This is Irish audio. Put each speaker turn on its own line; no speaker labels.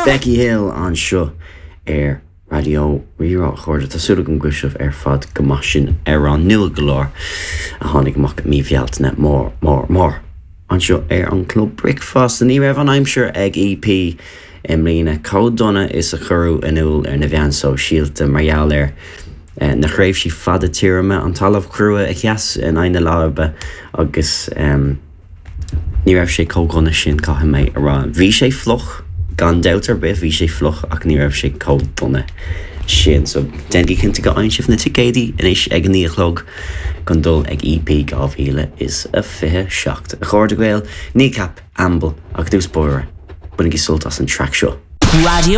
Becky Hill anseo ar Raidió Rí-Rá. A chairde, tá súil agam go bhfuil sibh ar fad go maith. Sin amhrán nua go leor a tháinig amach i mí Bhealtaine mór, mór, mór anseo ar an Club Bricfeasta. Ní raibh an aimsir ag EP i mbliana chomh dona is a cuireadh in iúl ar na mheáin sóisialta mar gheall ar na thréimhsí fada tirime, an talamh crua a sheas in aghaidh na láibe agus. Ní raibh sé chomh dona sin, caithfidh mé a rá. Bhí sé fliuch, gan dabht ar bith, bhí sé fliuch ach ní raibh sé chomh dona sin. So, déanaigí cinnte go bhfaigheann sibh na ticéidí anois ag a 9 a chlog chun dul ag EP 2027. A chairde Gael, Kneecap, Amble, ach i dtús báire, bainigí sult as an traic seo.
Radio.